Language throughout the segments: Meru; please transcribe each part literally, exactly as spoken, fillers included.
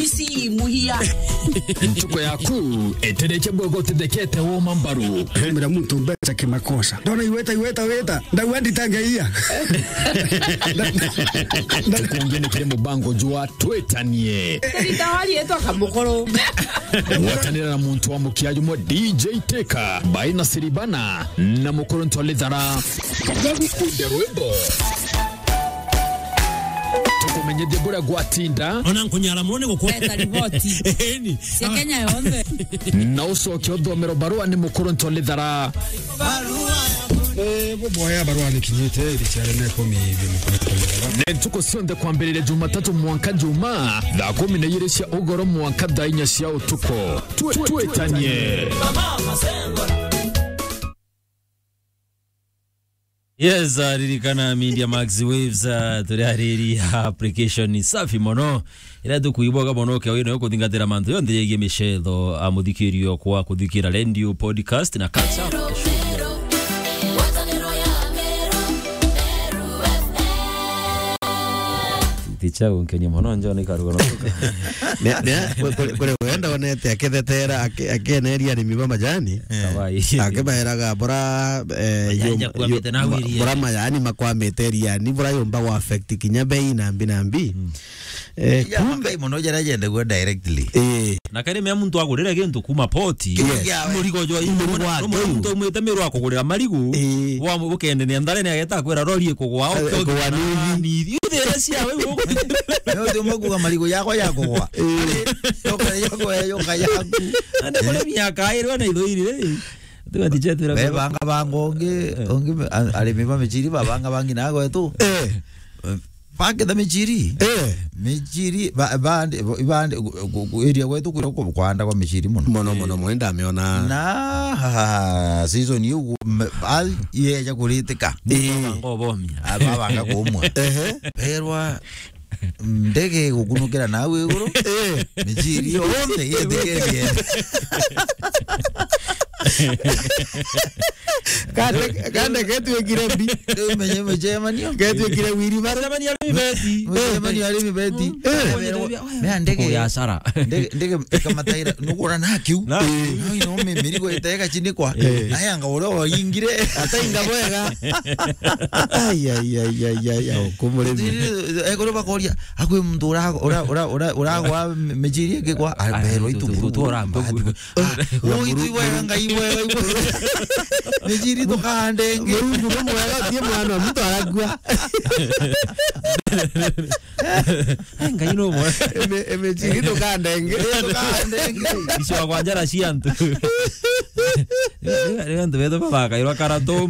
Si muhia. Ntuko yaku etereche bwego tithekete woma mbaru. Hemera muntu mbeca kimakosa. Ndona iweta, iweta, weta. Ndauga nditangeia. Tukungi ni kiri mubango jwa twitanie. Ritawari etwa Kamukuru. Gwatanira na muntu wa mukia jumwe D J Teka, Baina Siribana, na Mukuru Ntwalithara. Kaja gukunde rwimbo. Tukumenyithie buria gwatinda. Ona nkunyara mone gukwa. Leta riboti. Eni. Cia Kenya yonthe. Na ucoke uthomero barua ni Mukuru Ntwalithara. Eh, buboya barua ni kinyite iri ciare ne kumi ibi Mukuru Ntwalithara. Ni ntuku cionthe kwambiriria Jumatatu mwanka Juma, thaa kumi na igiri cia ugoro mwanka thaa inya cia utuku. Twe-, twitanie. Yes, uh, ririkana Media Max Waves, uh, turi ariri ya application safi mono. Ira tukuiboga mono ke wino kuthingatira mantu yonthe yegie micetho, a muthikirio kwa kuthikira radio, podcast na catch up. Ticha unkenya mono njo ni karuga no. Ne, ne, kwe, kwe, kwe, wenda onete akethetera, ake-, akeneria arimi ba majani. Eh. Kawaii. Akibaeraga bora, eh, Majani yom-, akwamite yo-, na ma-, wirie. Bora majani makwamite iriani, bora yomba gwa affect kinya bei na mbi na mbi. Mm. Eh, ya kumbe makai mono jara jendagua directly. Eh. Na kari mea muntu agurire gintu kuma poti. Yes. Murigo jwa murigo wa muntu umwite miru akugurira marigu. Eh. Wa ukendenia ntharene ageta kwira rori ikugwa. Eh, okugwa ni ithi. Ni ithi. Uthire cia we. Yo tu mokuga marigu yakwa yakugwa. Eh. Yoka, yoka, yoka yaku. Ande kore miaka irwa na itho iri. Tiga tiche twira. Bebanga bango ongi, eh, ongi me-, a-, arimi ba michiri babanga bangi na gwetu. Eh. Eh, baketha michiri. Eh. Michiri, ba-, bande, bande, gu-, gu-, gu-, area gwetu kuri ku-, kwanda kwa michiri mono. Mono, mono, mono, ndamiona. Na, ha, ha, ha, season iu, me-, ba-, yeja kuritika. Eh. Ngobomia. Aba banga kumwa. Ehe. Berwa, ndege igukunukira nau iguru. Eh. Michiri yonthe yethikirie. Kande, kande ketwikire mbi. Riu menye mucemanio. Ketwikire wiri bara. Mucemanio arimi beti. Mucemanio arimi beti. Eh. Mea ndege. Ndege, ndege ikamataira, nugura na kiu. Na kiu. No, ino mi-, mirigo itega chini kwa. Eh. Naye anga uria waingire. Atainga bwega. Ai, ai, ai, ai, ai, ai, kumurimi. Ekuru bakoria, akwi muntu ura-, ura-, ura-, ura-, uragwa michiri ingi kwa, ah, berwa itu tu-, tu-, tu-, uramba. Ah, uyu itu ibwega, Ngai ibwega, ibwega. Michiri tukahande ingi. Mungu ni mwega, utie mwana wa muntu arakua. Ai, Ngai no mwega. Eme-, emechiri tukahande ingi. Tukahande ingi. Icio kwa njara cia antu. Ni, ni, ni antu betu babakairwa karato.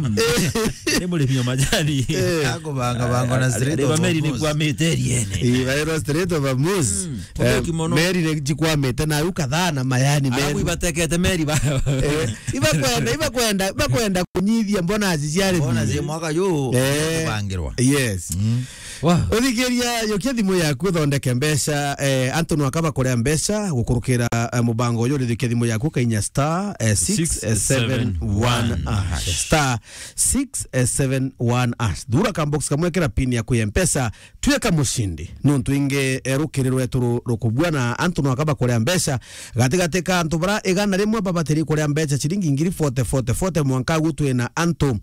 Ni murimi wa majani. Eh. Akubanga bango na Strait of Hormuz. Meri ni kwa miteri ene. Ii, bairwa Strait of Hormuz. Mm. Eh, mutheki mono. Meri ni cikwamite na u kadhaa na mayani. Arabu meri ibatekete meri ba. Eh, ibakwenda, ibakwenda, ibakwenda kunyithia bonus cia arimi. Bonus ya mwaka yu, eh, kubangirwa. Yes. Mm. Wa. Uthikiria, yukia thimu yaku uthondeke mbeca, eh, antu nwaka bakuria mbeca gukurukira, eh, mubango uyu, urithikia thimu yaku ukainya star, eh, six seven one hash. Six seven one hash. Star six seven one hash. Thura ka box kamwe, kira pin yaku ya Mpesa, twika mushindi. Nuntu ingi, eh, rukiri rwetu ru-, rukubua na antu nwaka bakuria mbeca. Gatigati ka antu bara igana rimwe babatiri kuria mbeca ciringi ngiri forty, forty, forty, mwanka agu twina antu,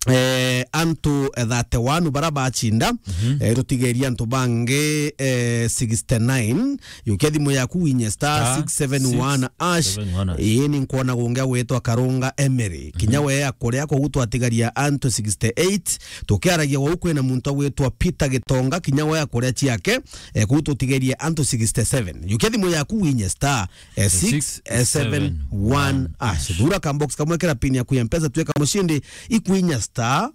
eh, antu, eh, thirty-one bara bachinda. Mhm. Eh, tutigeria antu bangi, eh, sixty-nine. Yukia thimu yaku winye star six seven one hash. Star six seven one hash. Ii, ni nkwona gungi agwitwa Karunga Emery. Kinya, mhm, we akuria, kogu twatigaria antu sixty-eight. Tukiaragia gwau kwina muntu agwitwa Peter Gitonga, kinya we akuria ciake, eh, kogu tutigerie antu sixty-seven. Yukia thimu yaku winye star, eh, six seven one hash. Thura ka box kamwe, kira pin yaku ya Mpesa, twika mushindi, ikwinya star,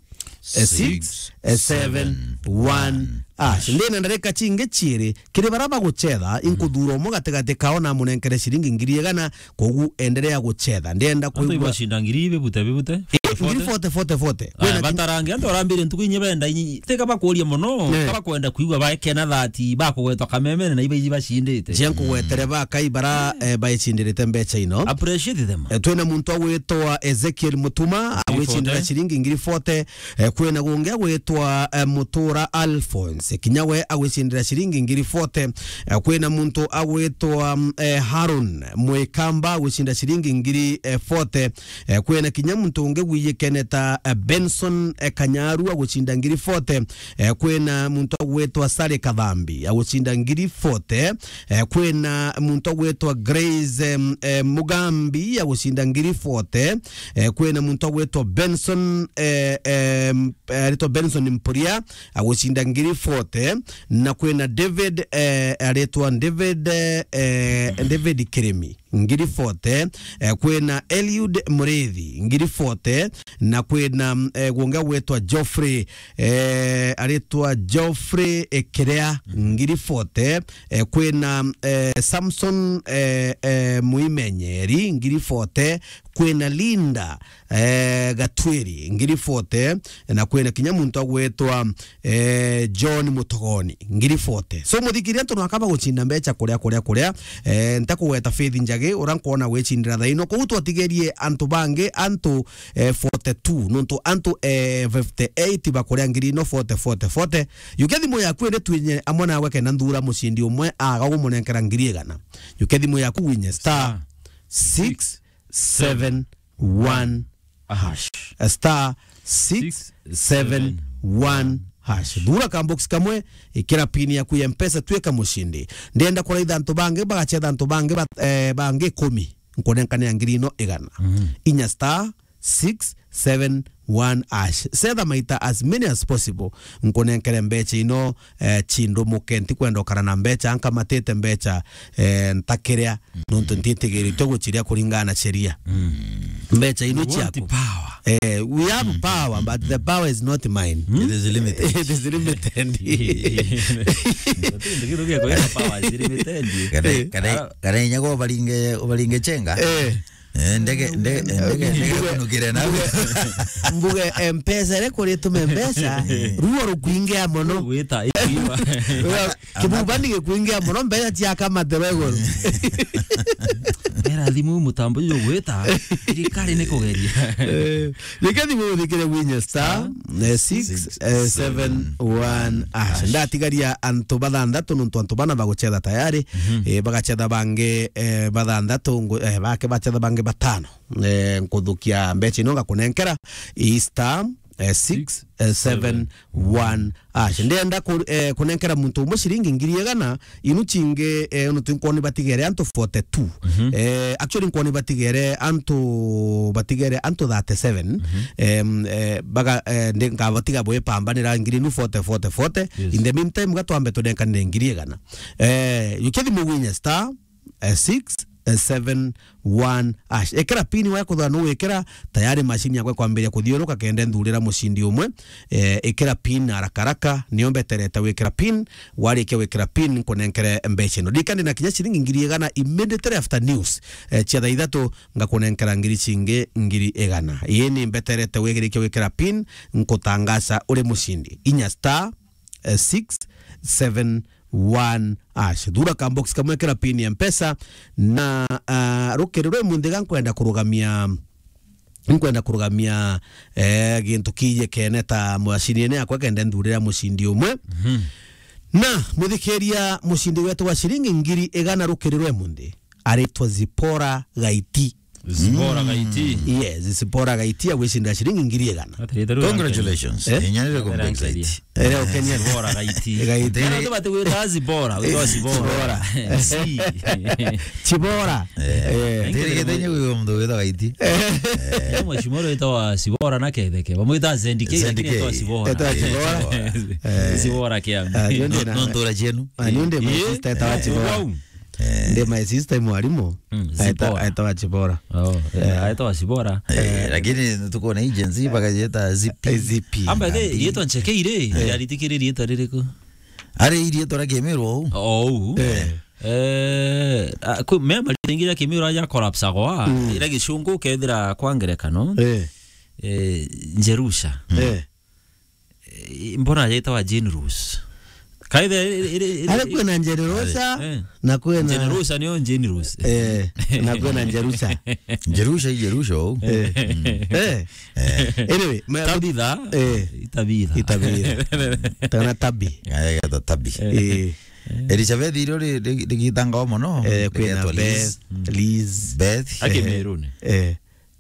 eh, six seven one hash. Ndina ndarika cingi ciiri, kiri bara bagucetha, inkuthuura umwe gatigati kao na amunenkere ciringi ngiri igana, kogu enderea gucetha. Ndienda kwigua. Antu ibashinda ngiri bibute, bibute? Eh, ngiri forty, forty, forty. Aya, kwina ki- batarange, antu arambire ntuku inye benda inyi, tika bakuria mono, ne, ka bakwenda kwigua baekena that bakugwetwa kamemene na iba iji bashindite. Cia nkugwetere bakai bara, eh, baichindirite mbeca ino. Appreciate them. Eh, twina muntu agwitwa Ezekiel Mutuma, agwicindira ciringi ngiri forty. Eh, kwina gungi agwitwa, eh, Mutura Alphonse. Kinya we agwicindira ciringi ngiri forty. Eh, kwina muntu agwitwa, mm, eh, Harun Mwikamba agwicinda ciringi ngiri, eh, forty. Eh, kwina kinya muntu ungi wiyikene ta, eh, Benson, eh, Kanyaru agwicinda ngiri forty. Eh, kwina muntu agwitwa Sale Kathambi agwicinda ngiri forty. Eh, kwina muntu agwitwa Grace, em, eh, Mugambi agwicinda ngiri forty. Eh, kwina muntu agwitwa Benson, eh, em, eh, aritwa Benson Mpuria agwicinda ngiri forty, na kwina David, eh, aritwa David, eh, David Kirimi, ngiri forty, eh, kwina Eliud Murithi, ngiri forty, na kwina, eh, gwonge gwitwa Geoffrey, eh, aritwa Geoffrey, eh, Kiria, ngiri forty, eh, kwina, eh, Samson, eh, eh, Muimenyeri, ngiri forty, kwina Linda, eh, Gatwiri, ngiri forty, na kwina kinya muntu agwitwa, eh, John Mutogoni, ngiri forty. So, muthikiria antu nwakaba gucinda mbeca kuria, kuria, kuria, eh, ntakugweta Faith Njagi, ura nkwona gwicindira thaino. Kou twatigerie antu bangi, antu, eh, forty-two, nontu antu, eh, fifty-eight bakuria ngiri ino forty, forty, forty. Yukia thimu yaku indi twinye amwe nawe kenda nthura mucindi umwe aga gumunenkera ngiri igana. Yukia thimu yaku winye star six seven one hash. A star six seven one hash. Thura ka box kamwe, ikira pin yaku ya Mpesa, twika mucindi. Ndenda kuraitha antu bangi, bagacetha antu bangi, ba-, eh, bangi ikumi. Nkunenkanira ngiri ino igana. Mhm. Inya star six seven one hash. Cetha maita as many as possible. Nkunenkere mbeca ino, eh, cindumuke, ntikwenda ukara na mbeca, nkamatite mbeca, eh, ntakiria, nontu ntitigirite guciria kuringana na sheria. Mm. Mbeca ino ciaku. We want the power. Eh, we have power, but the power is not mine. It is limited. It is limited. Ndio kitu kia kuweka power is limited. Kana, kana, kana inya kwa ubaringe, ubaringe chenga. Eh. Eh, ndege, ndege, ndege, ndege kunukire na. Mbuge, mbuge, M-Pesa ire kuri tume mbeca, ruo rukwingia mono. Gwita, ikiwa. Kibubani gikwingia mono, mbeca ciaka mathero iguru. Era thimu mutambo uyu gwita, thirikari ni kugeria. Eh, reke thimu uthikire winye star, eh, six seven one hash. Ndatigaria antu bathanthatu, nontu antu bana bagucetha tayari. Mhm. Eh, bagacetha bangi, eh, bathanthatu, ngu-, eh, bake bacetha bangi batano. Eh, nkuthukia mbeca ino ngakunenkera i star, eh, six seven one hash. Ndenda ku-, eh, kunenkera muntu umwe ciringi ngiri igana, inu cingi, eh, unu twinkwoni batigere antu forty-two. Mhm. Eh, actually, nkwoni batigere antu, batigere antu thirty-seven. Mhm. Em, eh, baga, eh, ndi-, ngabatiga bwipambanira ngiri inu forty, forty, forty. Yes. In the meantime, gatwambe tunenkanire ngiri igana. Eh, yukia thimu winye star, eh, six seven one hash. Ikira pin wa kuthwa nu wikira, tayari machine yakwa kwambiria kuthiuruka kende nthurira mucindi umwe. Eh, ikira pin haraka haraka, nio mbeterete wikira pin, warikia wikira pin, nkunenkere mbeca ino. Ndikandi na kinya ciringi ngiri igana immediately after news, eh, cia thaa ithatu, ngakunenkera ngiri cingi ngiri igana. Ii ni mbeterete wirikia wikira pin, nkutangaca uri mucindi. Inya star, eh, six seven one hash. Thura ka box kamwe, kira pin ya Mpesa, na, ah, rukiri rwe munthi ga nkwenda kurugamia, nkwenda kurugamia, eh, gintu kije kene ta mashini ene yakwa kende nthurira mucindi umwe. Mhm. Na muthikiria, mucindi wetu wa ciringi ngiri igana rukiri rwe munthi aritwa Zipora Gaiti. Zipora Gaiti. Yes, Zipora Gaiti agwicindira ciringi ngiri igana. Congratulations. Eh? Inya nire kumbe excited. Ere ukenya. Zipora Gaiti. Gaiti. Kana tu bati wira Zipora, wira Zipora. Zipora. Si. Chibora. Eh. Eh. Tiri gitenye uyo mtu wira Gaiti. Eh. Mheshimiwa witawa Zipora na Ketheke. Bamwita Zendike, Zendike. Lakini witawa Zipora. Witawa Zipora. Eh. Zipora kia. Ah, ndio ndio na. Nontu ura cienu. Ah, ndio ndio my sister witawa Zipora. Wow. Eh. Ndi my sister i mwarimu. Mm, aeta-, Zipora. Aetawa Chibora. Oh, eh, eh, aetawa Chibora. Eh, eh, lakini tuko na agency bagacieta Z P. Eh, Z P. Amba the, rietwa ncheke ire, eh, yaritikirie rietwa ririku? Ari irietwa ria Kimiru ou. Oh, ou. Eh. Eh, a, kwi, mema ringi ria Kimiru aja collapse agwa, mm, ira gicungu kethira kwa ngerekano. Eh. Eh, Njerusha. Eh. Eh, mbona ajaitawa Jane Rose? Kaithe iri, iri, iri, Ari kwina Njerusa, eh, na kwina Njerusa niyo Njerusa. Eh, na kwina Njerusa. Njerusa, i Njerusa, ou. Eh. Eh. Eh. Anyway, ma- Tabitha. Eh. Itabitha. Itabitha. Tana Tabi. Aya, geta Tabi. Eh. Elizabeth irio ri-, ri-, rigitangwa mono. Eh, kwina Rigetwa Liz. Beth. Liz. Beth. Aki Eh. Mirune. Eh.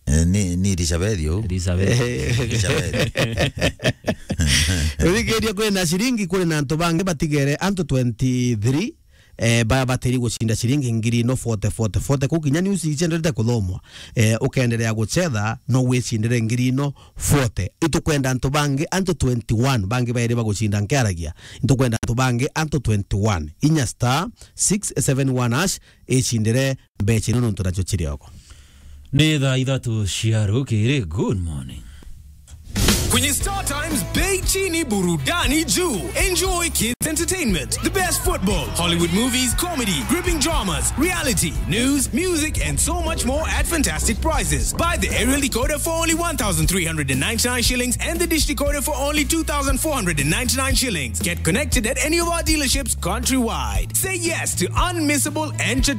Eh, ni, ni Elizabeth ou. Elizabeth. Eh. Elizabeth. Urikiria kwina ciringi, kuri na antu bangi batigere antu twenty-three, eh, baya batiri gucinda ciringi ngiri ino forty, forty, forty. Kuu kinya news icienderete kuthomwa. Eh, ukenderea gucetha, no wicindire ngiri ino forty. Itukwenda antu bangi, antu twenty-one, bangi bairi bagucinda nkiaragia. Itukwenda antu bangi, antu twenty-one. Inya star six seven one hash, icindire mbeca ino nontu nacio ciri oko. Ni thaa ithatu cia rukiri. Good morning. Kwenye Star Times, bei chini, burudani juu. Enjoy kids entertainment, the best football, Hollywood movies, comedy, gripping dramas, reality, news, music, and so much more at fantastic prices. Buy the aerial decoder for only one thousand three hundred and ninety-nine shillings and the dish decoder for only two thousand four hundred and ninety-nine shillings. Get connected at any of our dealerships countrywide. Say yes to unmissable entertainment.